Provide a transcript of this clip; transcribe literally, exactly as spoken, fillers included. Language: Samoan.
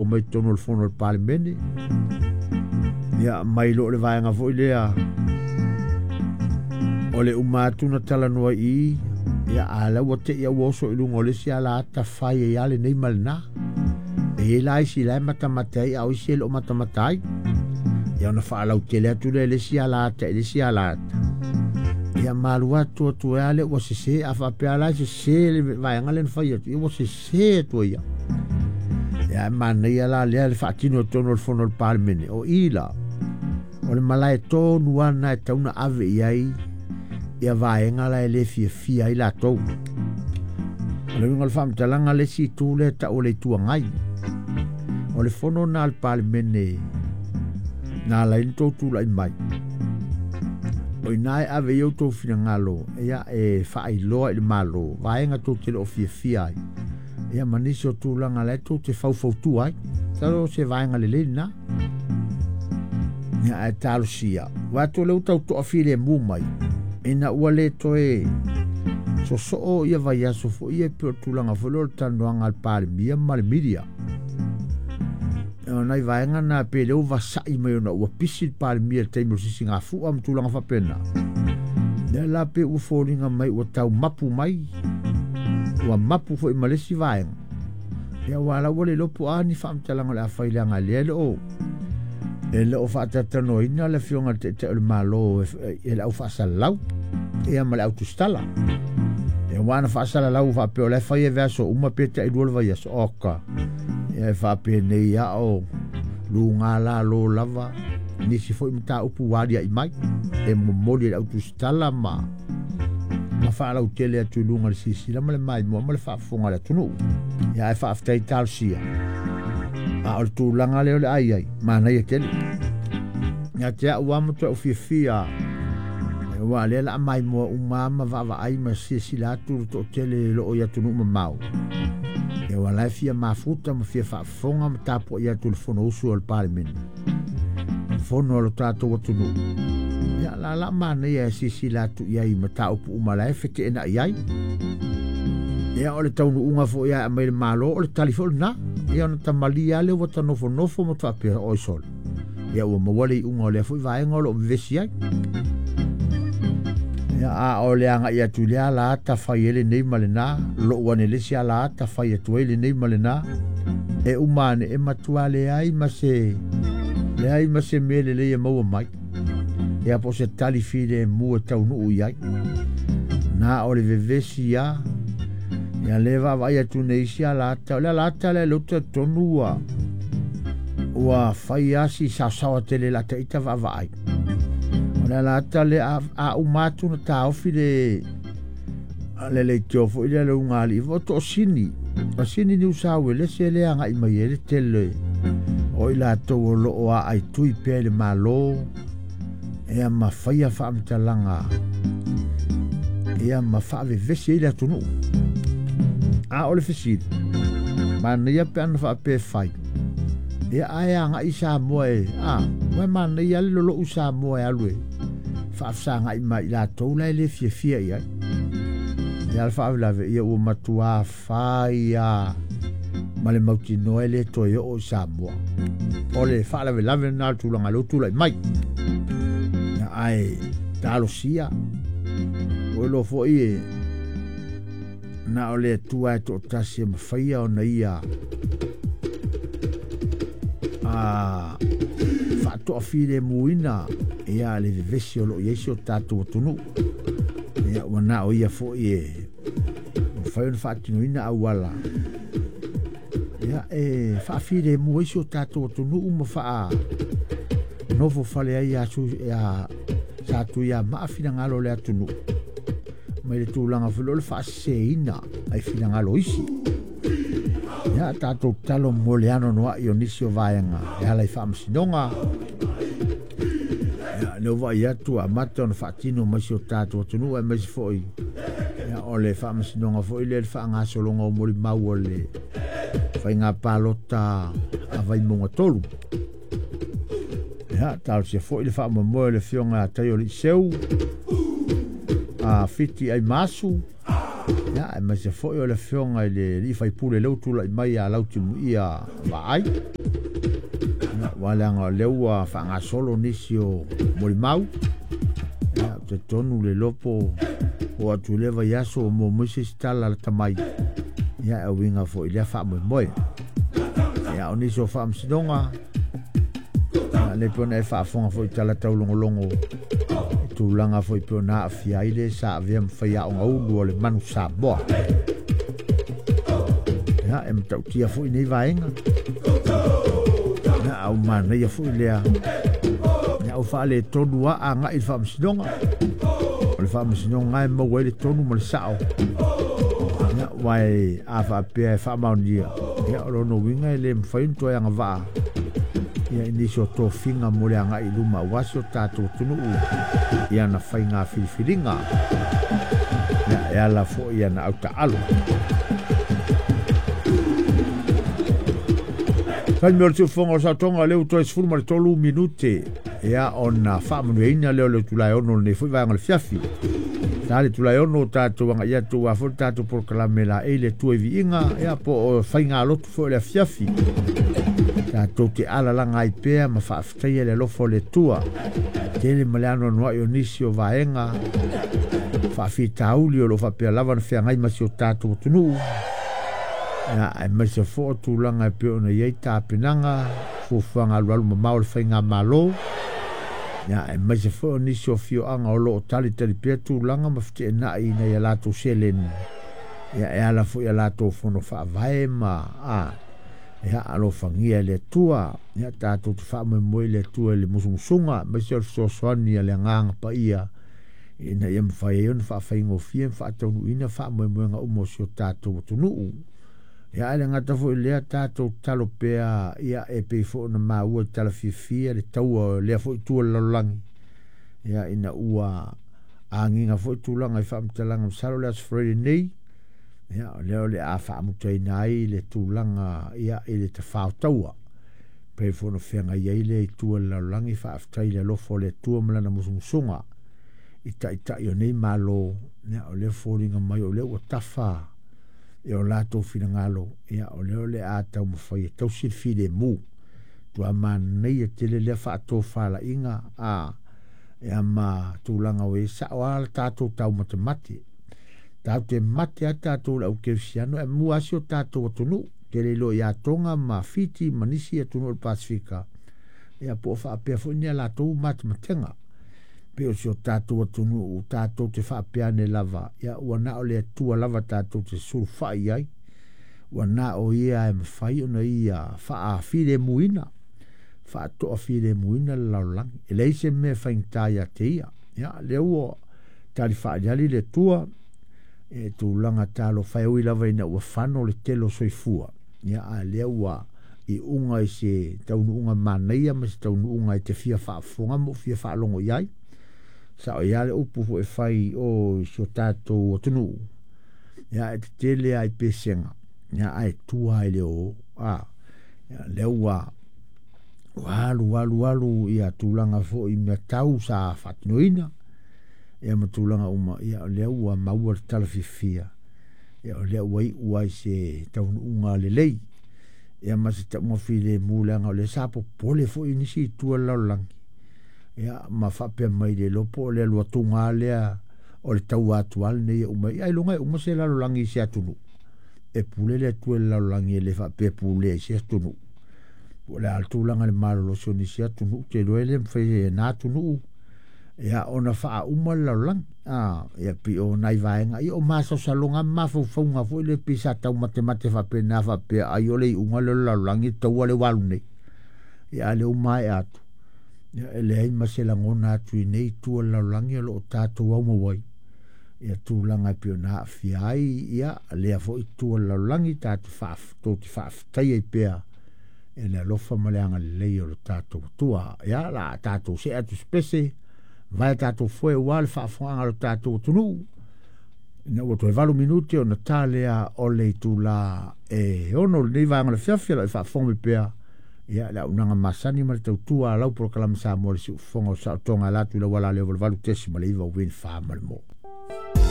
O mai totonu o le fono o le Palemene. Ia mai lo le vaega foi lea o le uma atu na talanoa i ia a la ua te ia ua oso i luga o le isi ala ata fai ai a lenei ma lena. E i ai la isi la e matamata ai a o isi e le o matamata ai. Ia ona faalautele atu lea i le isi ala ata i le isi ala ata. Ia malu atu atu ai lea ua sese a faapea la e sese le vaega lea na fai atu. Ia ua sese atu ai ia. Ia e manaia la lea le faatino i totonu o le fono o le Palemene. O i la, o le malae tonu ana e tatau ona ave i ai ia vaega la e le fiafia ai latou. O le uiga o le faamatalaga le isi itu lea e tau o le Itu Agai. O le fono lena a le Palemene na ala ai ona tou tulai mai. O ina e ave i ai outou finagalo ia e faailoa i le Malo vaega tou te le o fiafia ai. Ia ma nisi o tulaga la e tou te faufautua ai. Masalo o se vaega lelei lena. Ia ae talosia. Ua atu o lea ua tau toafilemu mai ina ua le toe sosoo ia vaiaso foi ia pei o le tulaga foi lea o le talanoaga a le Palemia ma le media. O nai vaega na pe lea ua vasai mai ona ua pisi le Palemia i le taimi o le sisigafua ma tulaga faapena. Lea la pe ua foliga mai ua tau mapu mai, ua mapu foi ma le isi vaega. Ia ua la ua le iloa po o a ni faamatalaga o le a fai leaga lea e le o e le o faatalatanoaina le afioga i le Taitai o le Malo e le au faasalalau ia ma le au tusitala. Ia ua na faasalalau faapea o la e fai e vaiaso uma pe tailua le vaiaso. Oka, ia e faapenei a o luga la lo lava nisi foi mataupu ua alia'i mai e momoli e le au tusitala ma ma faalautele atu i luga le silasila ma le maimoa ma le faafofoga a le atunuu. Ia ae faafetai talosia. A o le tulaga lea o le a i ai, manaia tele. Ia te au lava matuai ou fiafia aua lea o le a maimoa uma ma vaavaai ma silasila atu le toatele o lo o i atunuu mamao. Ia aua la e fia mafuta ma fia faafofoga ma tapuai atu i le Fonousu a le Palemene, fono a lo tatou atunuu. Ia la la manaia e silasila atu i ai i mataupu uma la e feteenai ai. Ia o le taunuuga foi a aumai le Malo o le tali foi lena. Ia ona tamalia lea ua ta nofonofo ma faapea oi sole. Ia ua maua le iuga o lea foi vaega o lo o vevesi ai. Ia a o le agai atu i le ala ata fai ai lenei ma lena, lou ane le isi ala ata fai atu ai lenei ma lena. E uma ane e matua leai ma se leai ma se mea lelei e maua mai. Ia po o se tali filemu e taunuu i ai. Na o le vevesi a ia le vaavaai atu nei isi ala ata. O le ala ata lea lea ou te talitonu ua ua fai lava si saosaoa tele i la ita vaavaai. O le ala ata lea a uma atu na taofi le le leitio foi lea le ugaalii o toosini. O sini ni Usa Uelese lea agai mai ai le tele o i latou o lo o aaitui pea i le Malo ia ma faia faamatalaga ia ma faavevesi ai le atunuu. A o le fesili, manaia pe ana faapea e fai. Ia ae agai Samoa e, a, ua manaia le lolou Samoa e alu e faafesagai ma i latou la e le fiafia i ai. Ia le faalavelave ia ua matua fai a ma le mautinoa e le toe oo i Samoa. O le faalavelave lena o le tulaga lea ua tulai mai. Ia ae talosia, ua iloa foi e na o le Atua e toatasi e mafaia ona ia a faatoafilemuina ia le vevesi o lo o i ai si o tatou atunuu. Ia ua na o ia foi e mafai ona faatinoina auala ia e faafilemu ai si o tatou atunuu ma faa nofo fale ai ia su ia sa tuiamaa finagalo o le atunuu mai le tulaga foi lea o le faaseseina ai finagalo isi. Ia tatou tatalo mo le anoanoai o nisi o vaega e ala i faamasinoga. Ia lea ua vaai atu ua amata ona faatino mai si o tatou atunuu aemaise foi ia o le faamasinoga foi lea le faagasologa o molimau o le faiga palota a Vaimauga tolu. Ia talosia foi le faamoemoe o le afioga ia Taio Liiseu a Fiti Aimasu Ia e maise foi o le fionga i le li faipule leu tula i mai a lau timu ia vaai. Ia waleanga o leu ua whangasolo nisi o molimau. Ia te tonu le lopo o atu le vaiaso mo moise tala la tamai. Ia e winga foi lea faamoemoe. Ia o nisi o faamasinoga le pona e faafoga foi tala taulogologo e tulaga foi pe ona aafia ai le sa avea ma faiaoga ulu o le manu Samoa. Ia e matautia foi nei vaega. Ia au manaia foi lea. Ia au faaletonu a agai i le faamasinoga. O le faamasinoga e maua ai le tonu ma le sao. Ia wai a faapea e faamaonia. Ia o lona uiga e le mafai ona toe agavaa. Ia i nisi o tofiga mo le agai i luma aua si o tatou atunuu ia na faiga filifiliga. Ia e ala foi ia na autaalo. Taimi o le siufoga o sautoga leu toe sefulu ma le tolu minute. Ia ona faamanuiaina lea o le itula e ono lenei foi vaega o le fiafi. Sa le itula e ono tatou agaia atu a foi le tatou polokalame la e le Atua i viiga. Ia po o faiga lotu foi o le afiafi. Tatou te alalaga ai pea ma faafetaia le alofa o le Atua. Tele ma le anoanoai o nisi o vaega faafitauli o lo o faapea lava na feagai ma si o tatou atunuu. Ia aemaise foi o tulaga e pei ona i ai tapenaga fuafuaga alualu mamao o le faigamalo. Ia aemaise foi o nisi o afioaga o lo o talitali pea tulaga ma feteenai ina ia latou seleni. Ia e ala foi ia latou fono faavae ma a ia alofagia e le Atua. Ia tatou te faamoemoe i le Atua i le musumusuga aemaise o le fesoasoani a le Agaga Paia ina ia mafai ai ona faafaigofie ma faataunuuina faamoemoega uma o si o tatou atunuu. Ia ae le gata foi lea tatou tatalo pea ia e pei foi ona maua i tala fiafia le taua o lea foi itu o le lalolagi. Ia ina ua agiga foi tulaga i faamatalaga masalo le Aso Faraile nei. Ia o lea o le a faamutaina ai le tulaga ia i le tafao taua. Pei foi ona feagai ai le itu o le lalolagi faafetai le alofa o le Atua ma lana musumusuga i taitai o nei malo. Ia o lea foliga mai o lea ua tafa e o latou finagalo. Ia o lea o le a taumafai e tausi le filemu. Tua manaia tele lea faatofalaiga a ia ma tulaga o e sao a le tatou taumatemate. Tatou te mate a tatou le au kerisiano e mua asi o tatou atunuu. Tele iloa ia Tonga ma Fiti ma nisi atunuu o le Pasifika. Ia po o faapea foi ni a latou matematega. Pe o si o tatou atunuu tatou te faapea ane lava. Ia ua na o le Atua lava tatou te sulufai ai. Ua na o ia e mafai ona ia faafilemuina. Faatoafilemuina le lalolagi. E leai se mea e faigata ia te ia. Ia lea ua tali faaliali le Atua. E tulaga talofa e ui lava ina ua fano le tele o soifua. Ia a lea ua i uga i se taunuuga manaia ma se taunuuga e te fia faafofoga ma fia faalogo i ai. Sao ia le upu foi e fai o si o tatou atunuu. Ia e tetele ai pesega. Ia ae tua ai le o. A ia lea ua alu alu alu ia tulaga foi mea tau sa faatinoina. Ia ma tulaga uma. Ia o lea ua maua le tala fiafia. Ia o lea ua iu ai se taunuuga lelei. Ia ma se tauga filemu leaga o lea sa popole foi nisi i tua o le lalolagi. Ia ma faapea mai le lopo o le alu atuga lea o le taua atu a lenei e uma. Ia ailoga e uma se lalolagi i se atunuu. E pule le Atua i le lalolagi e le faapea pulea i se atunuu. Po o le a le tulaga i le malolosi o nisi atunuu te iloa e le mafai e na atunuu. Ia ona faauma le lalolagi. Ah, ia pei o nai vaega. Ia o masaosaloga ma mafaufauga foi le pei sa taumatemate faapena faapea ai o le iuga lea o le lalolagi taua le ua alu nei. Ia a le uma ae atu. Ia e leai ma se lagona atu i nei itu o le lalolagi o lo o tatou aumau ai. Ia tulaga e pei ona aafia ai ia lea foi itu o le lalolagi tatou faaf- tou te faafetai ai pea e le alofa ma le agalelei o le tatou Atua. Ia la tatou see atu se pese vai tatou foe ua le faafofoga o le tatou atunuu. Ina ua toe valu minute ona ta lea o le itula e ono lenei vaega o le fiafia o lo o faafofoga mai pea. Ia le auaunaga masani ma le tautua a lau polokalame Samoa le siufofoga o saotoga e ala atu i le auala lea o valu valu tesi ma le iva uini fa ma le mo.